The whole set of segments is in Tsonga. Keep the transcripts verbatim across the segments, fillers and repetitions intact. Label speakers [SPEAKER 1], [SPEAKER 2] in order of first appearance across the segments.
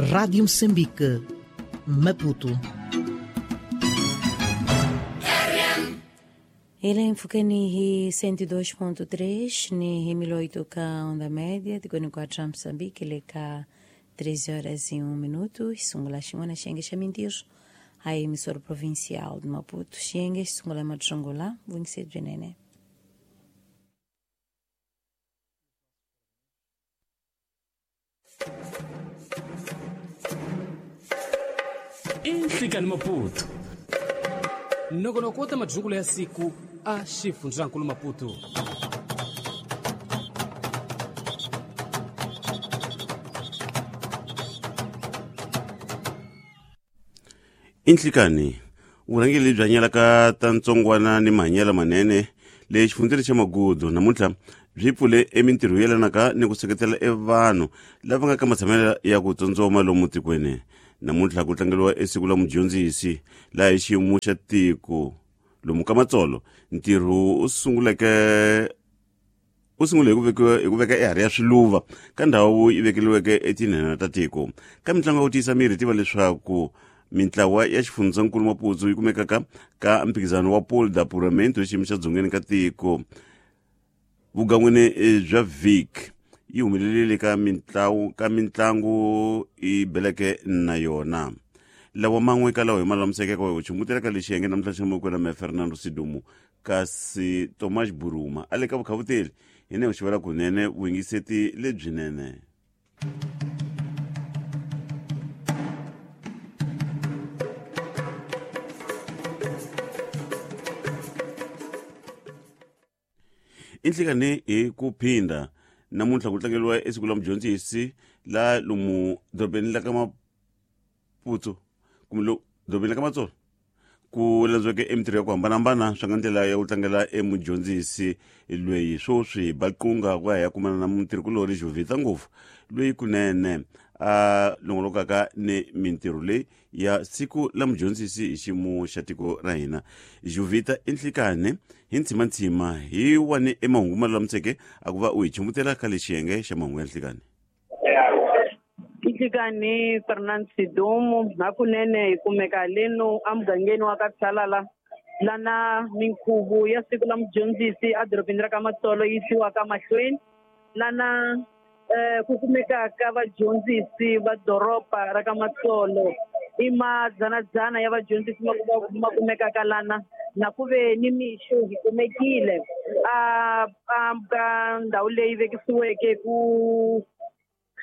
[SPEAKER 1] Rádio Moçambique, Maputo.
[SPEAKER 2] Ele enfukeni hi cento e dois ponto três ni hi mil oito ka onda média de quatro Moçambique ele ka treze horas e um minuto sungula xingona xenge xa mintios a emissora provincial de Maputo xenge sungula madjongula vunse byenene.
[SPEAKER 3] Inhlikani Maputo nongonoko wa majungula ya siku a xifundzankulu Maputo.
[SPEAKER 4] Inhlikani vurhangeri lebyi hanyelaka ta ntsongwana ni mahanyelo manene le xifundzeni xa Magudu namuntlha byi pfule emintirho yo yelanaka ni ku seketela evanhu lava nga ka matshamelo ya ku tsotsoma lomu tikweni. Namuntlha ku tlangeriwa esiku la mudyondzisi laha hi xiyimo xa tiko lomu ka Matsolo ntirho u sunguleke u sungule hi ku vekiwa hi ku veka eharhi ya swiluva ka ndhawu yi vekeriweke etinhena ta tiko. Ka mitlangu ya ku tiyisa miri tiva leswaku mintlawa ya xifundzankulu Maputo yi kumekaka ka mphikizano wa Pole da Puramento xiyimo xa dzongeni ka tiko. Vugan'wini bya Vic yi humelelile ka mintlawu ka mitlangu yi beleke na yona. Lawa man'we ka lawa hi malulamiseke ka ku chumbutela ka lexi yenge namuntlha xa mukwe na Fernando Sidumo kasi Tomas Buruma a le ka vukhavuteli hi ne xivela kunene vuyingiseti lebyinene. Inhlikani hi ku phinda namuntlha ku tlangeriwa esiku la mudyondzisi la lomu dorobeni la ka Maputo kumbe lo dorobeni la ka Matsolo ku landziweke emintirho ya ku hambanahambana swa nga ndlela ya ku tlangela emudyondzisi loyi swoswi baqunga ku ya ya kumana na mutirhikulori Jovita ngopfu loyi kunene a longolokaka ni mintirho leyi ya siku la mudyondzisi hi xiyimo xa tiko ra hina. Jovita inhlikani hi ntsimantsima hi wani emahungu ma lulamiseke a ku va u hi chumbutela ka lexiyenge xa mahungu ya nhlikani.
[SPEAKER 5] Inhlikani Fernand Sidumo hakunene hi kumeka leno emugangeni wa ka Tshalala lana minkhuvo ya siku la mudyondzisi edorobeni ra ka Matsolo yi yisiwaka mahlweni lana eh ku kumekaka vadyondzisi va doroba ra ka Matsolo i madzanadzana ya vadyondzisi ma ma kumekaka lana na ku ve ni mixo hi kumekile a a ka ndhawu leyi vekisiweke ku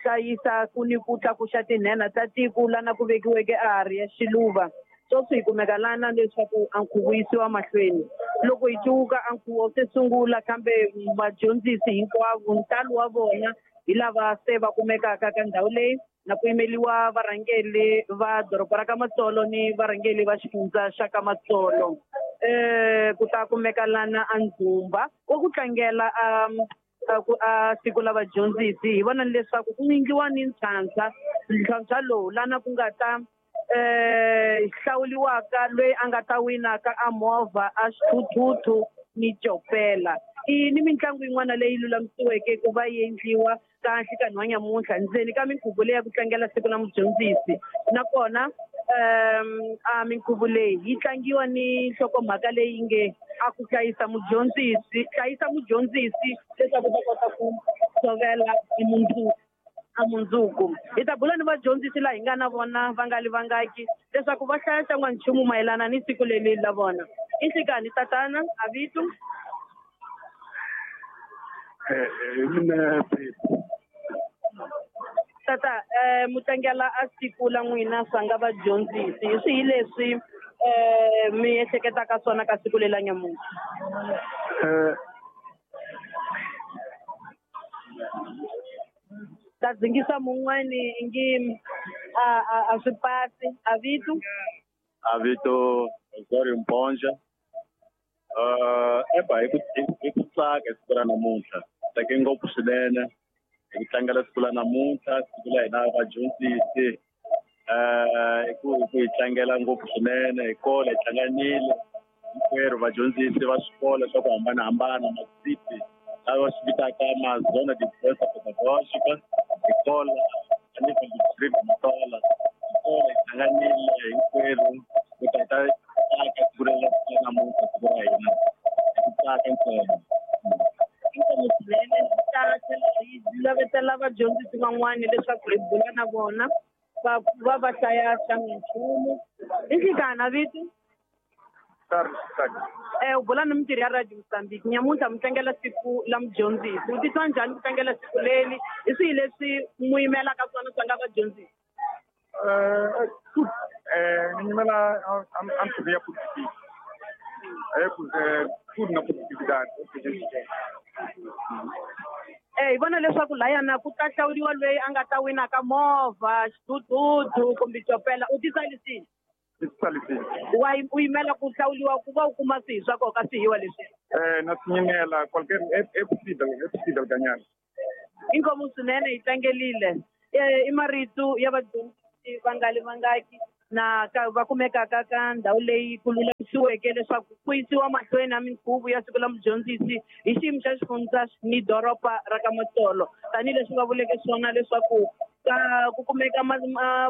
[SPEAKER 5] hlayisa ku ni ku tlakuxa tinhena ta tiko lana ku vekiweke eharhi ya xiluva. Sweswi hi kumeka lana leswaku a nkhuvo yisiwa mahlweni. Loko hi cuka a nkhuvo se sungula kambe vadyondzisi hinkwavo ntalo wa vona hi lava se va kumekaka ka ndhawu leyi na ku yimeliwa varhangeri va doroba ra ka Matsolo ni varhangeri va xifundza xa ka Matsolo. Eh ku ta kumeka lana a ndzumba wa ku tlangela a ku a siku la vadyondzisi hi vona leswaku ku endliwa ni ntlhantlha ntlhantlha lowu lana ku nga ta eh hlawuliwaka loyi a nga ta winaka a movha a xithuthuthu ni copela. I ni mitlangu yin'wana leyi lulamisiweke ku va yi endliwa ka nhlikani wa nyamuntlha ndzeni ka minkhuvo leyi ya ku tlangela siku la mudyondzisi. Nakona um a minkhuvo leyi yi tlangiwa ni nhlokomhaka leyi nge a ku hlayisa mudyondzisi hlayisa mudyondzisi leswaku ta kota ku tshovela mundzuku a mundzuku. Hi ta bula ni vadyondzisi laha hi nga na vona va nga li vangaki leswaku va hlaya xan'wanchumu mayelana ni siku leri la vona. Inhlikani tatana a vito tata eh mutlangela a siku la n'wina swa nga vadyondzisi hi swihi leswi eh mi ehleketaka swona ka siku leri la nyamuntlha?
[SPEAKER 6] Eh
[SPEAKER 5] ta dzingisa mun'wani ngi a a a swi pasi a vito
[SPEAKER 6] a vito Zori Mponja. Uh eba hi ku hi ku tsaka siku ra namuntlha tsake ngopfu swinene hi ku tlangela siku la namuntlha siku la hina vadyondzisi eh hi ku hi ku hi tlangela ngopfu swinene hi kola hi hlanganile hinkwerhu vadyondzisi va swikolo swa ku hambanahambana masiti lava swi vitaka ma-zona de influenza pedagógica hi kola a nível do distrito de Matola. Hi hlanganile hinkwerhu ku ta hi ta tsaka siku ra namuntlha, siku ra hina hi ku tsaka ntsena.
[SPEAKER 5] Inkomu swinene. Ta tlhela hi lavetela vadyondzisi van'wani leswaku hi bula na vona va va va hlaya xa minchumu. I xikana vito? Eh, u bula ni mintirho ya Radio Mozambique. Nyamuntlha mi tlangela siku la mudyondzisi. U titwa njhani ku tlangela siku leri? Hi swihi leswi mu yimelaka swona swa nga vadyondzisi?
[SPEAKER 7] Eh, eh, ni yimela a ntirho ya positive. Eh, tudo na positividade.
[SPEAKER 5] Eh, hi vona leswaku layana ku ta hlawuriwa loyi a nga ta winaka movha, xidududu kumbe chopela. U titsarisile? Wa u yimela ku hlawuriwa ku va u kuma swihi swa nkoka swihiwa leswi?
[SPEAKER 7] Eh, na swi yimela qualquer é é possível, é possível ganhar.
[SPEAKER 5] Inkomu swinene, hi tlangerile. Eh, i marito ya vadyondzisi vangali vangaki na ka va kumekaka ka ndhawu leyi ku lulamisiweke leswaku ku yisiwa mahlweni na minkhuvo ya siku la mudyondzisi hi xiyimo xa xifundza ni doroba ra ka Matsolo, tanihileswi va vuleke swona leswaku ka ku kumeka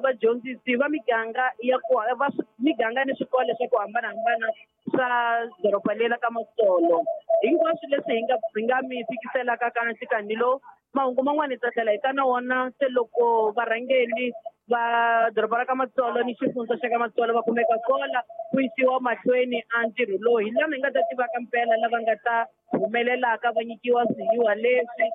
[SPEAKER 5] vadyondzisi va miganga ya ku va miganga ni swikolo swa ku hambanahambana swa doroba leri ka Matsolo. Hinkwaswo leswi hi nga hi nga mi fikiselaka ka nhlikani lowu, mahungu man'wana hi ta tlhela hi ta na wona se loko varhangeri va doroba ra ka Matsolo ni xifundza xa ka Matsolo va kumeka kola ku yisiwa mahlweni a ntirho lowu, hi lama hi nga ta tivaka mpela lava nga ta humelelaka va nyikiwa swihiwa leswi,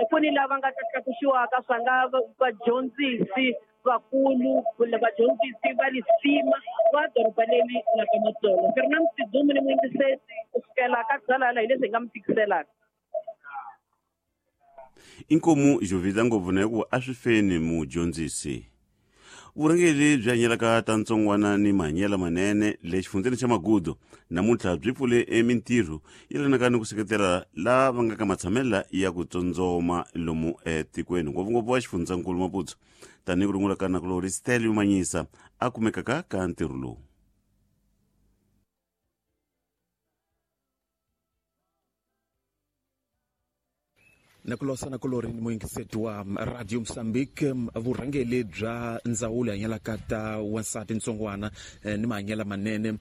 [SPEAKER 5] ku ni lava nga ta tlakusiwaka swa nga vadyondzisi vakulu kumbe vadyondzisi va lisima va doroba leri la ka Matsolo. Fernando Sidumo ni muyingiseri ku sukela ka Dzalala hi leswi hi nga mi tikiselaka.
[SPEAKER 4] Inkomu Jovita ngopfu na ku a swi feni mudyondzisi. Vurhangeri byi hanyelaka ta ntsongwana ni mahanyelo manene le xifundzeni xa Magudu namuntlha byi pfule emintirho yelanaka ni ku seketela lava nga ka matshamela ya ku tsondzoma lomu etikweni, ngopfungopfu wa xifundzankulu Maputo, tanihi ku rungula ka nakulori Stelio Manyisa a kumekaka ka ntirho lowu.
[SPEAKER 8] Nakulosa nakulori ni muyingiseti wa Radio Mozambique. Vurhangeri bya ndzawulo ya hanyelaka ta wansati ntsongwana ni mahanyelo manene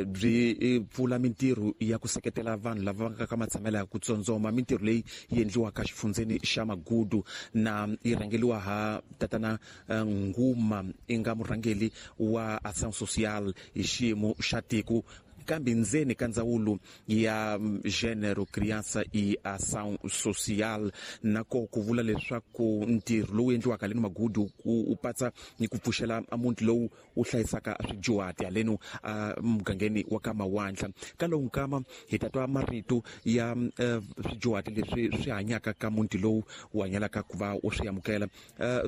[SPEAKER 8] byi pfula mintirho ya ku seketela vanhu lava nga ka matshamelo ya ku tsondzoma. Mintirho leyi yi endliwaka xifundzeni xa Magudu na yi rhangeriwa ha tatana Nguma i nga murhangeri wa Ação Social hi xiyimo xa tiko, kambe ndzeni ka ndzawulo ya Gênero, Criança e Ação Social. Na ko ku vula leswaku ntirho lowu endliwaka haleni Magudu u patsa ni ku pfuxela muti lowu wu hlayisaka swidyuhati haleni mugangeni wa ka Mawandla. Ka lowu nkama hi ta twa marito ya swidyuhati leswi swi hanyaka ka muti lowu wu hanyelaka ku va u swi amukela,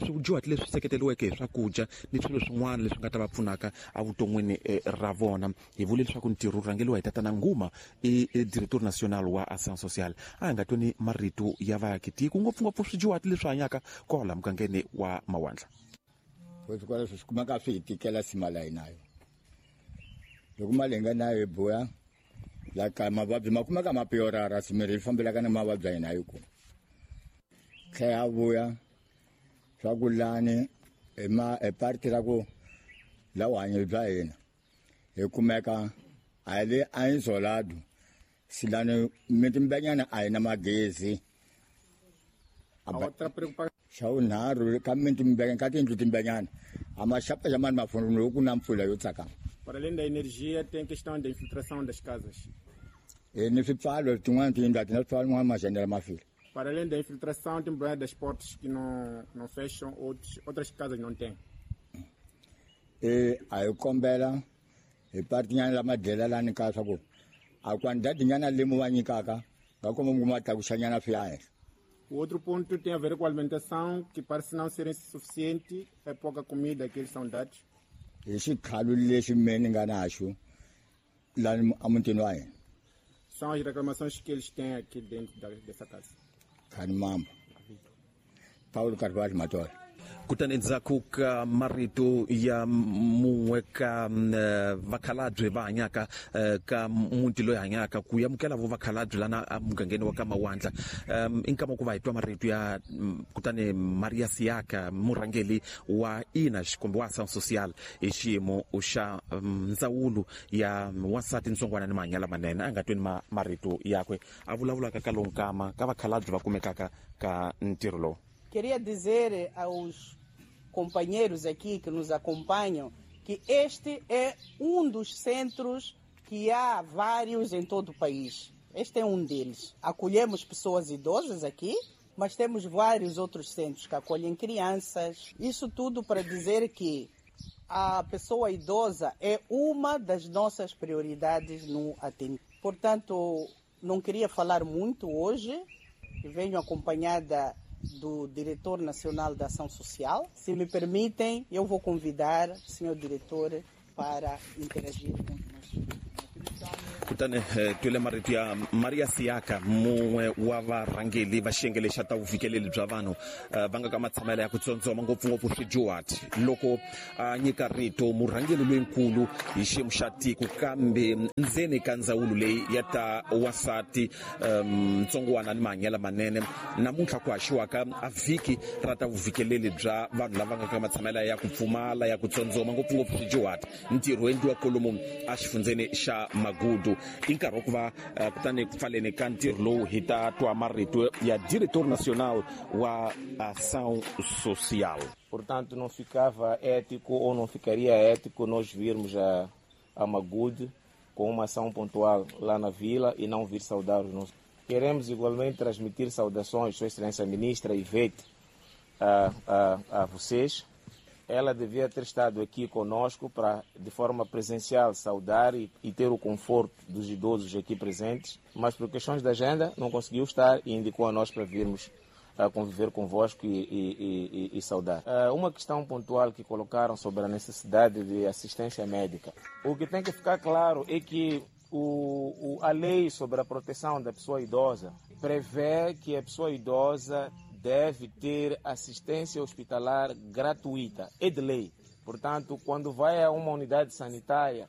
[SPEAKER 8] swidyuhati leswi seketeriweke hi swakudya ni swilo swin'wana leswi nga ta va pfunaka evuton'wini ra vona. Hi vule leswaku ntirho wu rhangeriwa hi tatana Nguma i director national wa Ação Social. A hi nga tweni marito ya vaakitiko, ngopfungopfu swidyuhati leswi hanyaka kwala mugangeni wa Mawandla.
[SPEAKER 9] Swikolo swi kumeka swi hi tikela sima la hina yo, loko mali hi nga nayo hi buya la ka mavabyi ma kumeka ma piorara, simirhi yi fambelaka na mavabyi ya hina yi ku tlhela ya vuya swa ku lani hi ma hi parti ra ku la vuhanyo bya hina hi kumeka a hi le a isolado silani mitimbanyana a hi na magezi. Xa vunharhu ka mitimbanyana ka tiyindlu timbanyana a ma xapa mani mafoni loko ku na mpfula yo tsakama.
[SPEAKER 10] Para além da energia tem questão da infiltração das casas.
[SPEAKER 9] E ni swipfalo tin'wana tiyindlu a ti na swipfalo n'wana majanela ma file.
[SPEAKER 10] Para além da infiltração tem problema das portas que não não fecham, outros, outras casas não têm.
[SPEAKER 9] E a hi kombela hi partinyana lama dlela lani ka swa ku a quantidade nyana lemu va nyikaka nga komba mi kuma tlakuxanyana swi ya henhla.
[SPEAKER 10] O outro ponto tem a ver com a alimentação, que parece não ser insuficiente, é pouca comida que eles são dados.
[SPEAKER 9] Hi xikhalo lexi me ni nga na xo lani emutini wa hina.
[SPEAKER 10] São as reclamações que eles têm aqui dentro da, dessa casa.
[SPEAKER 9] Khani Mamba, Paulo Carvalho Matola.
[SPEAKER 8] Kutani endzhaku ka marito ya mun'we ka vakhalabye va hanyaka ka muti loyi hanyaka ku amukela vo vakhalabye lana emugangeni wa ka Mawandla, i nkama ku va hi twa marito ya kutani Maria Siaka, murhangeri wa I N A kumbe wa Ação Social hi xiyimo xa ndzawulo ya wansati ntsongwana ni mahanyelo lamanene. A nga tweni marito yakwe a vulavulaka ka lowu nkama ka vakhalabye va kumekaka ka ntirho lowu.
[SPEAKER 11] Queria dizer aos companheiros aqui que nos acompanham que este é um dos centros que há vários em todo o país. Este é um deles. Acolhemos pessoas idosas aqui, mas temos vários outros centros que acolhem crianças. Isso tudo para dizer que a pessoa idosa é uma das nossas prioridades no atendimento. Portanto, não queria falar muito hoje. Venho acompanhada do Diretor Nacional da Ação Social. Se me permitem, eu vou convidar o senhor diretor para interagir conosco.
[SPEAKER 8] Kutani twile marito ya Maria Siaka, mun'we wa varhangeri va xiyenge lexa ta vufikeleli bya vanhu va nga ka matshamelo ya ku tsondzoma ngopfungopfu swidyuhati, loko a nyika rito murhangeri loyinkulu hi xiyimo xa tiko kambe ndzeni ka ndzawulo leyi ya ta wansati ntsongwana ni mahanyelo manene. Namuntlha ku haxiwaka a vhiki ra ta vufikeleli bya vanhu lava nga ka matshamelo ya ku pfumala ya ku tsondzoma ngopfungopfu swidyuhati, ntirho endliwa kolomu a xifundzeni xa Magudu. I nkarhi wa ku va kutani ku pfaleni ka ntirho lowu hi ta twa marito ya Diretor Nacional wa Ação Social.
[SPEAKER 12] Portanto, não ficava ético ou não ficaria ético nós virmos a, a Magude com uma ação pontual lá na vila e não vir saudar os nossos. Queremos igualmente transmitir saudações, Sua Excelência Ministra Ivete, a, a, a vocês. Ela devia ter estado aqui conosco para, de forma presencial, saudar e, e ter o conforto dos idosos aqui presentes, mas por questões de agenda não conseguiu estar e indicou a nós para virmos a conviver convosco e, e, e, e saudar. Uma questão pontual que colocaram sobre a necessidade de assistência médica. O que tem que ficar claro é que o, o, a lei sobre a proteção da pessoa idosa prevê que a pessoa idosa deve ter assistência hospitalar gratuita, é de lei. Portanto, quando vai a uma unidade sanitária,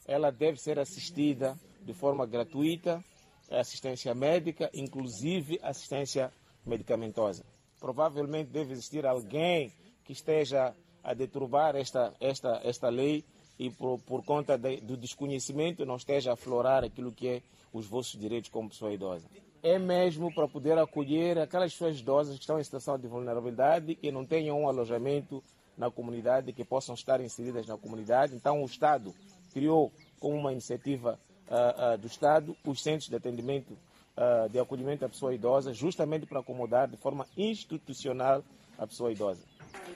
[SPEAKER 12] ela deve ser assistida de forma gratuita, assistência médica, inclusive assistência medicamentosa. Provavelmente deve existir alguém que esteja a deturbar esta, esta, esta lei e por, por conta de, do desconhecimento não esteja a aflorar aquilo que é os vossos direitos como pessoa idosa. É mesmo para poder acolher aquelas pessoas idosas que estão em situação de vulnerabilidade e não tenham um alojamento na comunidade, que possam estar inseridas na comunidade. Então o Estado criou, como uma iniciativa uh, uh, do Estado, os centros de atendimento, uh, de acolhimento à pessoa idosa, justamente para acomodar de forma institucional a pessoa idosa.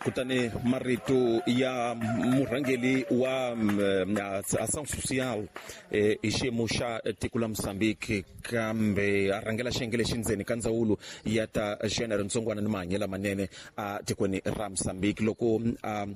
[SPEAKER 8] Kutani marito ya murhangeri wa Ação Social hi xiyimo xa tiko la Mozambique kambe a rhangela xiyenge lexi ndzeni ka ndzawulo ya ta xena rintsongwana ni mahanyelo lamanene a tikweni ra Mozambique, loko a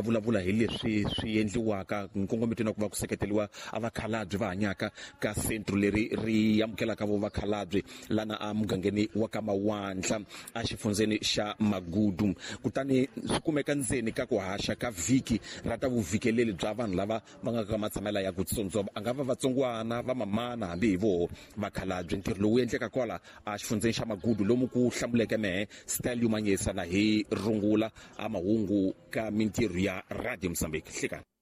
[SPEAKER 8] vulavula hi leswi swi endliwaka nkongometweni wa ku va ku seketeriwa a vakhalabye va hanyaka ka centro leri ri amukelaka vo vakhalabye lana a mugangeni wa ka Mawandla a xifundzeni xa Magudu. Kutani swi kumeka ndzeni ka ku haxa ka vhiki ra ta vufikeleli bya vanhu lava va nga ka matshamela ya ku tsondzoma, a nga va vatsongwana va mamana hambi hi voho vakhalabye. Ntirho lowu endleka kwala a xifundzeni xa Magudu lomu ku hlamuleke mehe style yumanyisa na hi rungula a mahungu ka mintirho ya Radio Mozambique. Hlekani.